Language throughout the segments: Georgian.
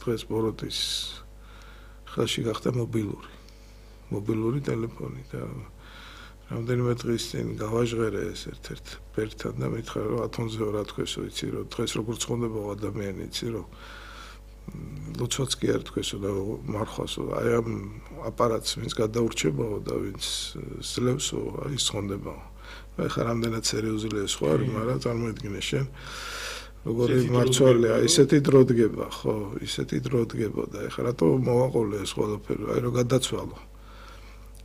დღეს ბოროტის ხელში გახდა მობილური ტელეფონი და რამდენიმე დღის წინ გავაჟღერე ეს ერთ-ერთ ბერთან და მითხრა რომ ათონზე რა თქვესო იცი რომ დღეს როგორ ცხონდება ადამიანი იცი რომ ლოცვაც კი არ თქვესო და მარხვასო აი ამ აპარატს ვინც გადაურჩებაო და ვინც ძლევსო ის ცხონდებაო ეხლა რამდენად სერიოზულია ეს ხო არის მაგრამ წარმოიდგინე შენ როგორი მარცვალია ისეთი დრო დგება ხო ისეთი დრო დგებოდა ეხლა რატო მოვაყოლე ეს ყველაფერი აი რომ გადაცვალო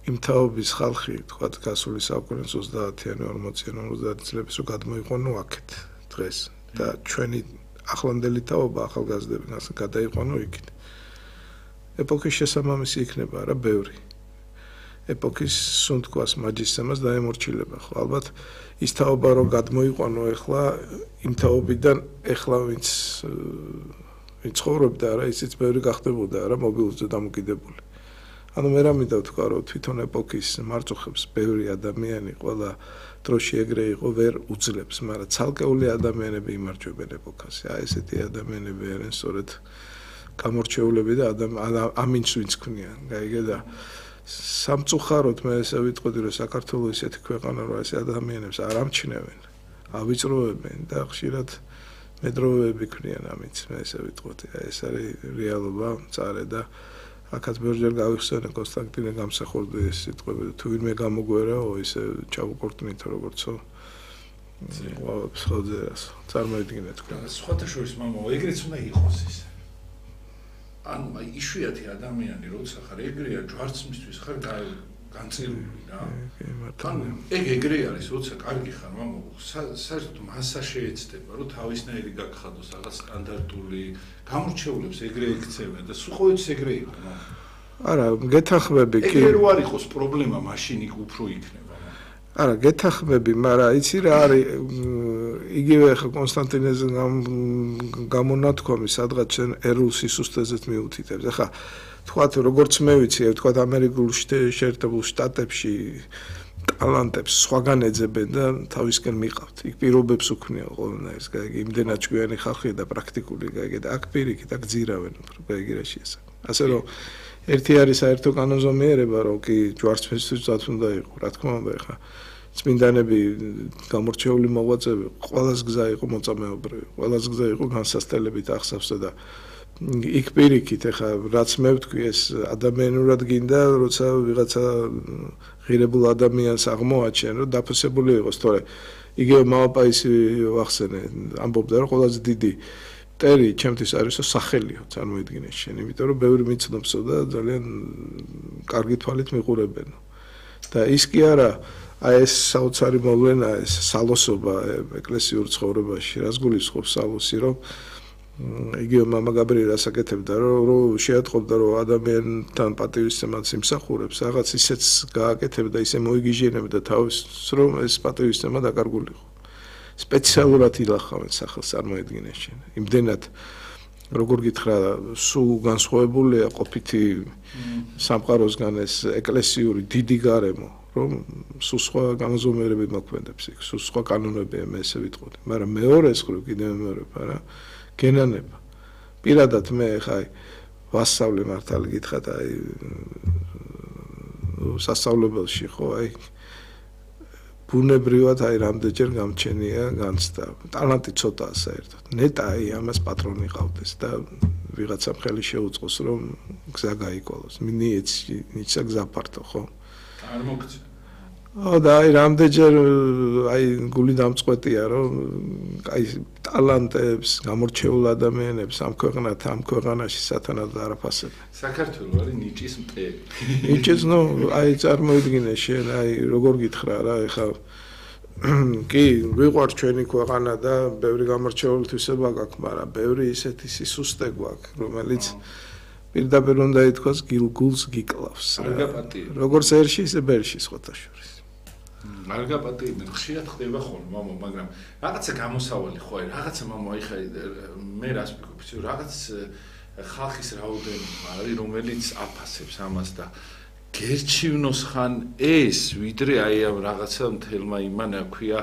იმ თაობის ხალხი თქვა გასული საუკუნის 30-იანი 40-იანი 50 წლების რომ გადმოიყვანო აქეთ დღეს და ჩვენი ახლანდელი თაობა ახალგაზრდები გადაიყვანო იქით ეპოქის შესაბამისი იქნება რა ბევრი ეპოქის სუნთქვას მაჯისცემას დაემორჩილება ხო ალბათ ის თაობა რომ გადმოიყვანო ეხლა იმ თაობიდან ეხლა ვინც ცხოვრობდა რა ისიც ბევრი გახდებოდა რა მობილურზე დამოკიდებული ანუ მე რამე დავთქვა რომ თვითონ ეპოქის მარწუხებს ბევრი ადამიანი ყველა დროში ეგრე იყო ვერ უძლებს მაგრამ ცალკეული ადამიანები იმარჯვებენ ეპოქას აი ესეთი ადამიანები არიან სწორედ გამორჩეულები და ამინც ვინც ქმნიან გაიგე და სამწუხაროდ მე ესე ვიტყოდი რომ საქართველოს ისეთი ქვეყანა რომ ეს ადამიანებს არ ამჩნევენ ავიწროებენ და ხშირად მედროვეები ქმნიან ამინც მე ესე ვიტყოდი აი ეს არის რეალობა მწარე და აქაც ბევრჯერ გავიხსენე კონსტანტინე გამსახურდის სიტყვები თუ ვინმე გამოგვერაო ისე ჩავუკორტნითო როგორცო ხოძერას წარმოიდგინე თქვენ სხვათა შორის მამო ეგრეც უნდა იყოს ის ანუ აი იშვიათი ადამიანი როცა ხარ ეგრეა ჯვარცმისთვის ხარ განცილული რა თან ეგრე არის როცა კარგი ხარ მამო საერთოდ მასა შეეცდება რომ თავისნაირი გაგხადოს რაღაც სტანდარტული გამორჩეულებს ეგრე ექცევენ და სულყოიც ეგრე იყო არა გეთახმები კი ეგრე რო არ იყოს პრობლემა მაშინ იქ უფრო იქნება არა გეთახმები მაგრამ იცი რა არის იგივე ხა კონსტანტინეს გამონათქვამი სადღაც შენ ერულ სისუსტეზეც მიუთითებს ახლა თქვათ როგორც მე ვიცი თქვათ ამერიკულ შეერთებულ შტატებში ტალანტებს სხვაგან ეძებენ და თავისკენ მიყავთ იქ პირობებს უქმნიან ყველანაირს გაიგე იმდენად ჭკვიანი ხალხია და პრაქტიკული გაიგე და აქ პირიქით აქ ძირავენ უფრო გაიგე რა შეესა ასე რომ ერთი არის საერთო კანონზომიერება რომ კი ჯვარცმისთვისაც უნდა იყოს რა თქმა უნდა ხა წმინდანები გამორჩეული მოღვაწეები ყველას გზა იყო მოწამეობრივი ყველას გზა იყო განსასწრებით ახსავსა და იქ პირიქით ეხა რაც მე ვთქვი ეს ადამიანურად გინდა როცა ვიღაცა ღირებულ ადამიანს აღმოაჩენ რომ დაფასებული იყოს თორე იგივე მამაპაისი ვახსენე ამბობდა რომ ყველაზე დიდი მტერი ჩემთვის არისო სახელიო წარმოიდგინე შენ იმიტომ რომ ბევრი მიცნობსო და ძალიან კარგი თვალით მიყურებენო და ის კი არა აი ეს საოცარი მოვლენა ეს სალოსობა ეკლესიურ ცხოვრებაში რას გულისხმობს სალოსი რომ იგივე მამა გაბრიელი ასაკეთებდა რომ შეატყობდა რომ ადამიანთან პატივისცემაც იმსახურებს რაღაც ისეც გააკეთებდა ისე მოიგიჟენებდა თავს რომ ეს პატივისცემა დაკარგულიყო სპეციალურად ილახავენ სახელს წარმოედგინე შენ იმდენად როგორ გითხრა სულ განსხვავებულია ყოფითი სამყაროსგან ეს ეკლესიური დიდი გარემო რომ სულ სხვა განაზომიერებით მოქმედებს იქ სულ სხვა კანონებია მე ესე ვიტყოდი მაგრამ მეორე მხრივ კიდევ მეორება რა გენანება პირადად მე ხა ვასწავლე მართალი გითხრათ აი სასწავლებელში ხო აი ბუნებრივად აი რამდენჯერ გამჩენია განცდა ტალანტი ცოტაა საერთოდ ნეტა აი ამას პატრონი ყავდეს და ვიღაცამ ხელი შეუწყოს რომ გზა გაიკოლოს ნიცა გზა ფართო ხო არ მოგწე და აი რამდენჯერ აი გული დამწყვეტია რომ აი ტალანტებს გამორჩეულ ადამიანებს ამ ქვეყანაში სათანადოდ არაფასებენ საქართველოს არის ნიჭის მტერი ნიჭის ნუ აი წარმოიდგინე შენ აი როგორ გითხრა რა ეხლა კი ვიყვარს ჩვენი ქვეყანა და ბევრი გამორჩეული თვისება გაქვს მაგრამ ბევრი ისეთი სისუსტე გვაქვს რომელიც პირდაპირ უნდა ითქვას გულს გიკლავს როგორც ერში ისე ბერში სხვათა შორის არ გაპატიებენ ხშირად ხდება ხოლმე მამო მაგრამ რაღაცა გამოსავალი ხო არის რაღაცა მამო აი ხა მე რას ვფიქრობ რაღაც ხალხის რაოდენობა არის რომელიც აფასებს ამას და გერჩივნოს ხან ეს ვიდრე აი ამ რაღაცა მთელმა იმანა ქვია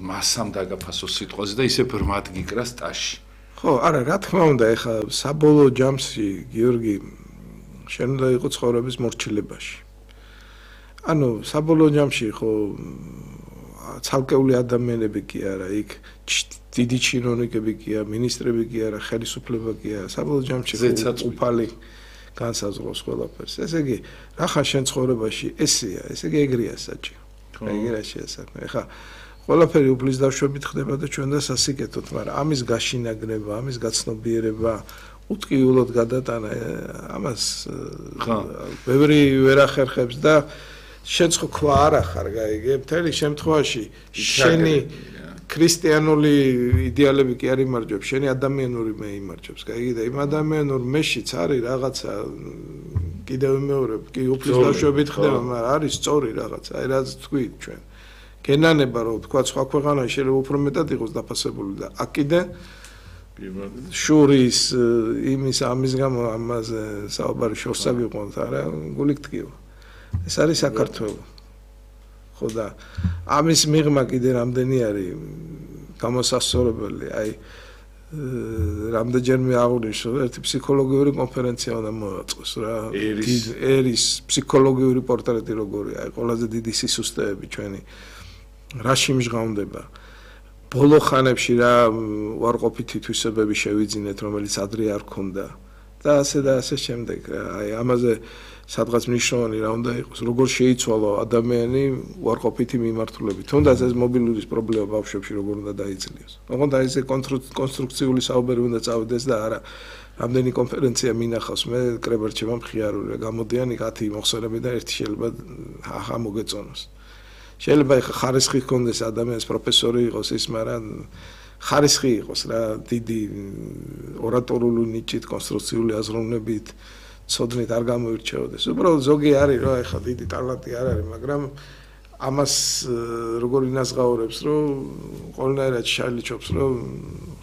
მასამ დაგაფასოს სიტყვაზე და ისე ბრმად გიკრას ტაში ხო, არა, რა თქმა უნდა, ეხლა საბოლოო ჯამში გიორგი შენ უნდა იყო ცხოვრების მორჩილებაში. ანუ საბოლოო ჯამში ხო ცალკეული ადამიანები კი არა, იქ დიდი ჩინოვნიკები კი არა, მინისტრები კი არა, ხელისუფლება კი არა, საბოლოო ჯამში უფალი განსაზღვროს ყველაფერს. ესე იგი, რახა შენ ცხოვრებაში ესეა, ესე იგი ეგრეა საჭირო. ეგრეა შეასაქმე. ეხლა ყველაფერი უფლის დაშვებით ხდება და ჩვენ და სასიკეთოთ, მაგრამ ამის გაშინაგრება, ამის გაცნობიერება უტკივილად გადატანა ამას ბევრი ვერ ახერხებს და შენ ხო ქვა არ ახარ გაიგე მთელი შემთხვევაში შენი ქრისტიანული იდეალები კი არ იმარჯვებს შენი ადამიანური მე იმარჯვებს გაიგე და იმ ადამიანურ მეშიც არის რაღაცა კიდევ მეორე კი უფლის დაშვებით ხდება მაგრამ არის სწორი რაღაცა აი რაც თქვით ჩვენ გენანება რომ თქვა სხვა ქვეყანაში შეიძლება უფრო მეტად იყოს დაფასებული და აქედან შურის იმის ამის გამო ამაზე საუბარი შორს აგიყვანთ არა გული გტკივა ეს არის საქართველო ხო და ამის მიღმა კიდე რამდენი არის გამოსასწორებელი აი რამდენჯერმე აღნიშნე ერთი ფსიქოლოგიური კონფერენცია უნდა მოაწყოს რა ერის ფსიქოლოგიური პორტრეტი როგორია აი ყველაზე დიდი სისუსტეები ჩვენი რაში მჟღავნდება ბოლო ხანებში რა უარყოფითი თვისებები შევიძინეთ რომელიც ადრე არ ქონდა და ასე შემდეგ რა აი ამაზე სადღაც მნიშვნელოვანი რა უნდა იყოს როგორ შეიცვალო ადამიანი უარყოფითი მიმართულებით თუნდაც ეს მობილურის პრობლემა ბავშვებში როგორ უნდა დაიძლიოს ოღონდ აი ეს კონსტრუქციული საუბარი უნდა წავიდეს და არა რამდენი კონფერენცია მინახავს მე კრებერჩება მხიარული გამოდიან 10 მოხსენები და ერთი შეიძლება ახა მოგეწონოს შეიძლება ხარისხი ჰქონდეს ადამიანს პროფესორი იყოს ის მაგრამ ხარისხი იყოს რა დიდი ორატორული ნიჭით კონსტრუქციული აზროვნებით ცოდნით არ გამოირჩეოდეს უბრალოდ ზოგი არის რა ეხლა დიდი ტალანტი არ არის მაგრამ ამას როგორ ინაზღაურებს რომ ყველანაირად შალიჩობს რომ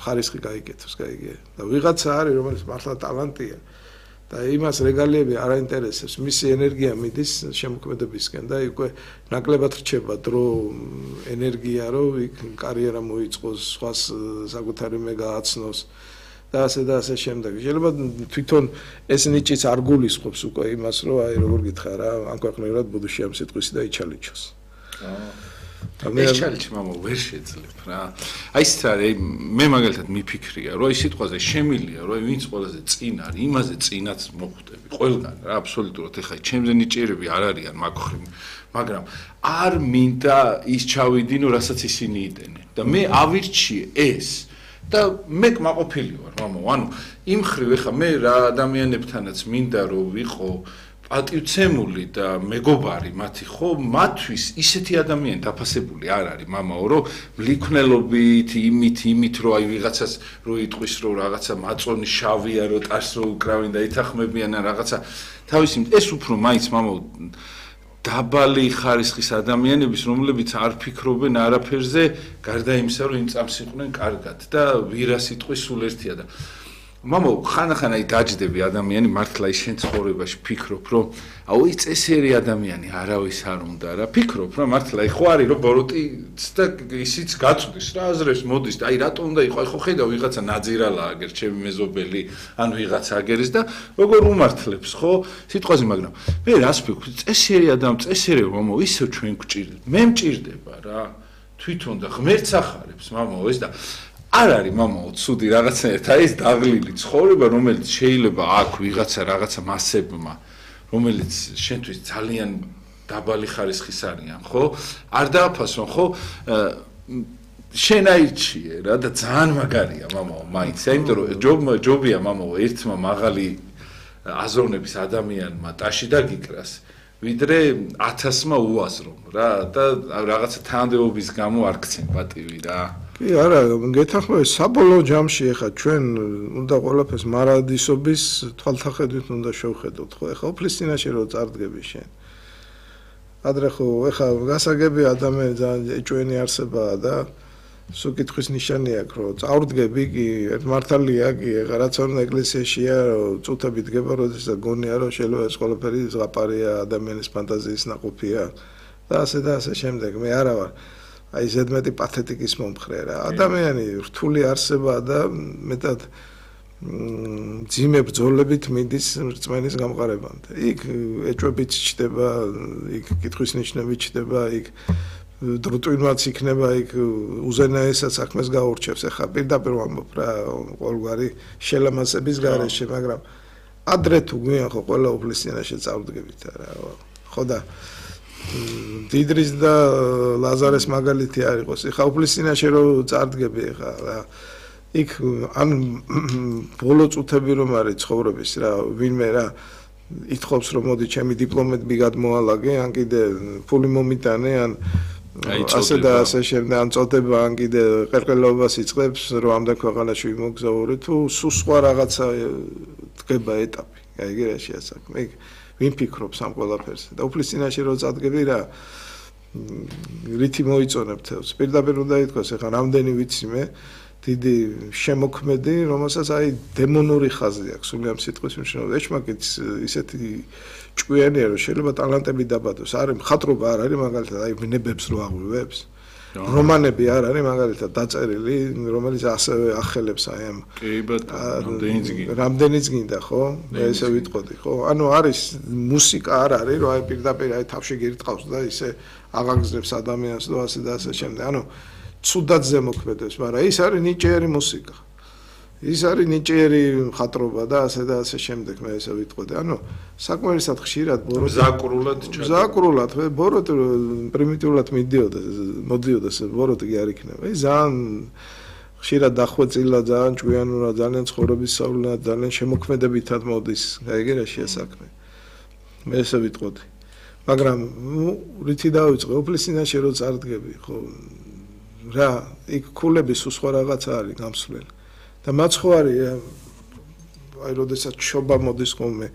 ხარისხი გაიგეთოს გაიგე და ვიღაცა არის რომელიც მართლა ტალანტია და იმას რეგალიები არ აინტერესებს მისი ენერგია მიდის შემოქმედებისკენ და უკვე ნაკლებად რჩება დრო ენერგია რომ იქ კარიერა მოიწყოს სხვას საკუთარი მე გააცნოს და ასე შემდეგ შეიძლება თვითონ ეს ნიჭიც არ გულისხმობს უკვე იმას რომ აი როგორ გითხრა რა ამ ქვეყნიერად ბუდუში ამ სიტყვისი და იჩალიჩოს ეს ჩალიჩი მამა ვერ შეძლებ რა აი ეს არის მე მაგალითად მიფიქრია რომ აი სიტყვაზე შემილია რომ ვინც ყველაზე წინ არის იმაზე წინაც მოხვდები ყველგან რა აბსოლუტურად ეხლა ჩემზე ნიჭიერები არ არიან მაგხრივ მაგრამ არ მინდა ის ჩავიდინო რასაც ისინი იდენენ და მე ავირჩიე ეს და მე კმაყოფილი ვარ მამა ანუ იმ ხრივ ეხლა მე რა ადამიანებთანაც მინდა რომ ვიყო პატივცემული და მეგობარი მათი ხო მათთვის ისეთი ადამიანი დაფასებული არ არის მამაო რომ მლიქნელობით იმით რომ აი ვიღაცას რო იტყვის რომ რაღაცა მაწონი შავია რომ ტარს რო უკრავენ და ითახმებიან ან რაღაცა თავისი ეს უფრო მაინც მამაო დაბალი ხარისხის ადამიანების რომლებიც არ ფიქრობენ არაფერზე გარდა იმისა რომ იმ წამს იყვნენ კარგად და ვირას იტყვის სულ ერთია და მამო ხანახან აი დაჯდები ადამიანი მართლა ის შენ ცხოვრებაში ფიქრობ რომ აუ ის წესიერი ადამიანი არავის არ უნდა რა ფიქრობ რა მართლა ხო არის რომ ბოროტიც და ისიც გაწვდის რა აზრებს მოდის და აი რატო უნდა იყო აი ხო ხედავ ვიღაცა ნაძირალა აგერ ჩემი მეზობელი ან ვიღაცა აგერის და როგორ უმართლებს ხო სიტყვაზე მაგრამ მე რას ფიქრობ წესიერი ადამიანი წესიერი მამო ისევ ჩვენ გვჭირდება მე მჭირდება რა თვითონ და ღმერთს ახარებს მამო ეს და არ არის მამაო ცუდი რაღაცნაირად აი ეს დაღლილი ცხოვრება რომელიც შეიძლება აქვს ვიღაცა რაღაცა მასებმა რომელიც შენთვის ძალიან დაბალი ხარისხის არიან ხო არ დააფასონ ხო შენ აირჩიე რა და ძალიან მაგარია მამაო მაინც იმიტომ რომ ჯობია მამაო ერთმა მაღალი აზროვნების ადამიანმა ტაში დაგიკრას ვიდრე 1000-მა უაზრომ რა და რაღაცა თანამდებობის გამო არ გცენ პატივი რა კი არა გეთანხმები საბოლოო ჯამში ეხა ჩვენ უნდა ყველაფერს მარადისობის თვალთახედვით უნდა შევხედოთ ხო ეხა უფლის წინაშე რო წარდგები შენ ადრე ხო ეხა გასაგები ადამიანი ძალიან ეჭვენი არსებაა და სულ კითხვის ნიშანი აქვს რომ წავდგები კი ერთ მართალია კი ეხა რაც ორ ეკლესიაშია წუთები დგება როდესაც გონია რომ შეიძლება ეს ყველაფერი ზღაპარია ადამიანის ფანტაზიის ნაყოფია და ასე შემდეგ მე არა ვარ აი ზედმეტი პათეტიკის მომხრე რა. ადამიანი რთული არსებაა და მეტად ძიმე ბრძოლებით მიდის რწმენის გამყარებამდე. იქ ეჭვებით ჩდება, იქ კითხვის ნიშნებით ჩდება, იქ დროწვინვაც იქნება, იქ უზენაესად საქმეს გაურჩევს. ეხლა პირდაპირ ვამბობ რა, ყოველგვარი შელამაზების გარეშე, მაგრამ ადრე თუ გვიან ხო ყველა უფლის წინაშე წავდგებით რა. ხო და დიდრის და ლაზარეს მაგალითი არ იყოს. ეხლა უფლის წინაშე რო წარდგები ეხლა რა იქ ან ბოლო წუთები რომ არის ცხოვრების რა ვინმე რა ითხოვს რომ მოდი ჩემი დიპლომები გადმოალაგე ან კიდე ფული მომიტანე ან ასე და ასე შემდეგ ან წოდება ან კიდე ყერყელობას იწყებს რომ ამდენ ქვეყანაში ვიმოგზაურე თუ სულ სხვა რაღაცა დგება ეტაპი გაიგე რა შეასაქმე იქ ვინ ფიქრობს ამ ყველაფერზე და უფლის წინაშე რო წადგები რა რითი მოიწონებ თავს პირდაპირ უნდა ითქვას ეხლა რამდენი ვიცი მე დიდი შემოქმედი, რომელსაც აი დემონური ხაზი აქვს, სული ამ სიტყვის მნიშვნელობით. ეჩმაკიც ისეთი ჭკვიანია, რომ შეიძლება ტალანტები დაბადოს. არის მხატვრობა არ არის მაგალითად, აი ვნებებს რო აღვივებს. რომანები არ არის მაგალითად დაწერილი, რომელიც ასევე ახელებს აი ამ კი ბატონო, რამდენიც გინდა, ხო? მე ესე ვიტყოდი, ხო? ანუ არის მუსიკა არ არის, რომ აი პირდაპირ აი თავში გირტყავს და ისე აღაგზნებს ადამიანს და ასე და ასე შემდეგ. ანუ ცუდად ზემოქმედებს, მაგრამ ის არის ნიჭიერი მუსიკა. ის არის ნიჭიერი მხატვრობა და ასე შემდეგ მე ესე ვიტყოდი. ანუ საკმარისად ხშირად ზაკრულად ბოროტ პრიმიტიულად მოდიოდა ბოროტი კი არ იქნება. ის ძალიან ხშირად დახვეწილა, ძალიან ჭკვიანურად, ძალიან ცხოვრების სწავლად, ძალიან შემოქმედებითად მოდის. გაიგე რა შეასაქმე. მე ესე ვიტყოდი. მაგრამ რითი დავიწყე? უფლის წინაშე რო წარდგები, ხო რა, იქ ქულების სხვა რაღაცა არის გამსვლელი. და მაცხოვარი აი როდესაც შობა მოდის ხოლმე,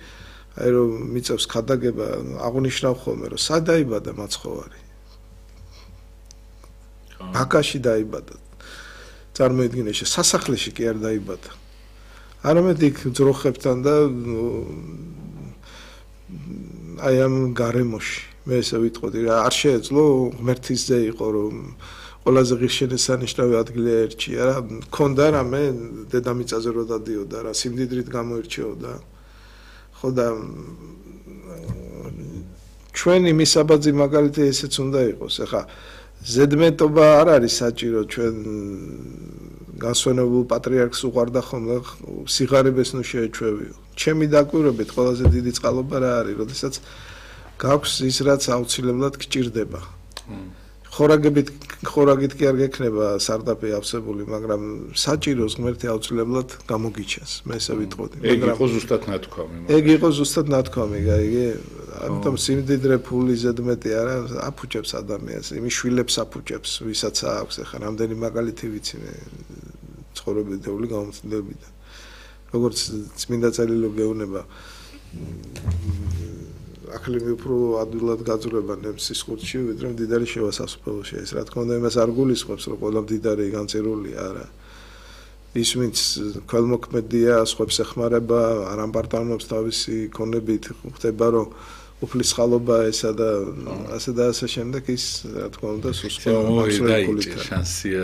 აი რომ მიწევს ხადაგება, აღნიშნავ ხოლმე, რომ სად დაიბადა მაცხოვარი? ბაქაში დაიბადა. წარმოიდგინე, სასახლეში კი არ დაიბადა. არამედ იქ ძროხებთან და აი ამ გარემოში, მე ესე ვიტყოდი რა, არ შეეძლო ღმერთის ზე იყო რომ ყველაზე ღირსშესანიშნავი ადგილი ერჩია რა, მქონდა რამე დედამიწაზე რო დადიოდა რა, სიმდიდრით გამოირჩეოდა. ხო და ჩვენი მისაბაძი მაგალითი ესეც უნდა იყოს. ეხლა ზედმეტობა არ არის საჭირო ჩვენ განსვენებულ პატრიარქს უყარდა ხოლმე სიღარიბეს ნუ შეეჩვევიო. ჩემი დაკვირვებით ყველაზე დიდი წყალობა რა არის, როდესაც გაქვს ის რაც აუცილებლად გჭირდება. ხორაგით კი არ გექნება სარდაფი ავსებული, მაგრამ საჭიროს ღმერთი აუცილებლად გამოგიჩენს. მე ესე ვიტყოდი. ეგ იყო ზუსტად ნათქვამი. ეგ იყო ზუსტად ნათქვამი, გაიგე? ამიტომ სიმდიდრე ფული ზედმეტი არა აფუჭებს ადამიანს, იმის შვილებს აფუჭებს, ვისაც აქვს. ეხლა რამდენი მაგალითი ვიცი მე ცხოვრებითეული გამომცემლებიდან. როგორც წმინდა წერილი გეუბნება აკლიმი უფრო ადვილად გაძვრება ნემსის ხურში, ვიდრე მდიდარი შევასასწრებელში. ეს რა თქმა უნდა იმას არ გულისხმობს, რომ ყველა მდიდარი განწერულია, არა. ის ვინც ქველმოქმედია, სხვებს ეხმარება, არ ამპარტავნობს თავისი ქონებით, ხდება რომ უფლის ხალობა ესა და ასე შემდეგ ის რა თქმა უნდა სუსტია მაქსიმალურად შანსია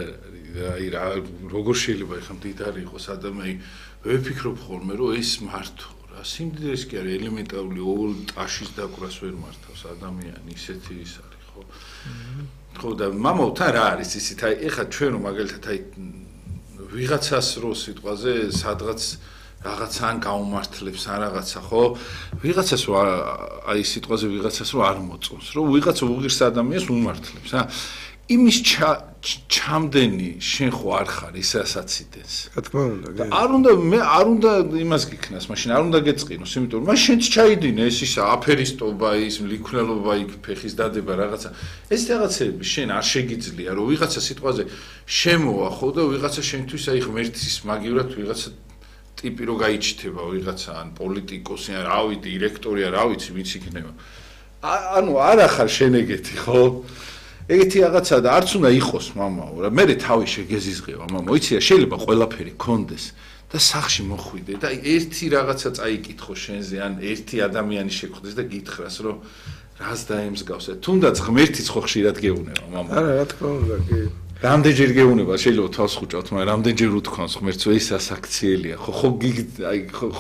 აი რა როგორ შეიძლება ეხლა მდიდარი იყოს ადამიანი ვეფიქრობ ხოლმე რომ ეს მართო სიმდიდრეს კი არის ელემენტარული ორ ტაშის დაკვრას ვერ მართავს ადამიანი ისეთი ის არის ხო ხო და მამაოთან რა არის ისეთ აი ეხლა ჩვენ რომ მაგალითად აი ვიღაცას რო სიტყვაზე სადღაც რაღაცან გაუმართლებს ან რაღაცა ხო ვიღაცას რო აი სიტყვაზე ვიღაცას რო არ მოწონს რო ვიღაცა უღირს ადამიანს უმართლებს ა იმის ჩამდენი შენ ხო არ ხარ ისაც იდენს რა თქმა უნდა არ უნდა მე არ უნდა იმას გიქნას მაშინ არ უნდა გეწყინოს იმიტომ რომ მაშინც ჩაიდინე ეს ისა აფერისტობა ის მლიქნელობა იქ ფეხის დადება რაღაცა ეს რაღაცები შენ არ შეგიძლია რომ ვიღაცა სიტყვაზე შემოვა ხო და ვიღაცა შენთვის აი ღმერთის მაგივრად ვიღაცა ტიპი რო გაიჩითება ვიღაცა ან პოლიტიკოსი ან რავი დირექტორი ან რა ვიცი ვიც იქნება ანუ არა ხარ შენ ეგეთი ხო ეგეთი რაღაცა და არც უნდა იყოს მამაო რა მე თავი შეგეზიზღება მამაო იცი შეიძლება ყველაფერი კონდეს და სახში მოხვიდე და ერთი რაღაცა წაიკითხო შენზე ან ერთი ადამიანი შეგხვდეს და გითხრას რომ რას დაემსგავსეთ? თუნდაც ღმერთიც ხო ხშირად გეუნება, მამა. არა, რა თქმა უნდა, კი. რამდენჯერ გეუნება, შეიძლება თავს ხუჭავთ, მაგრამ რამდენჯერ უთქვამს ღმერთს, ეს ასაქციელია. ხო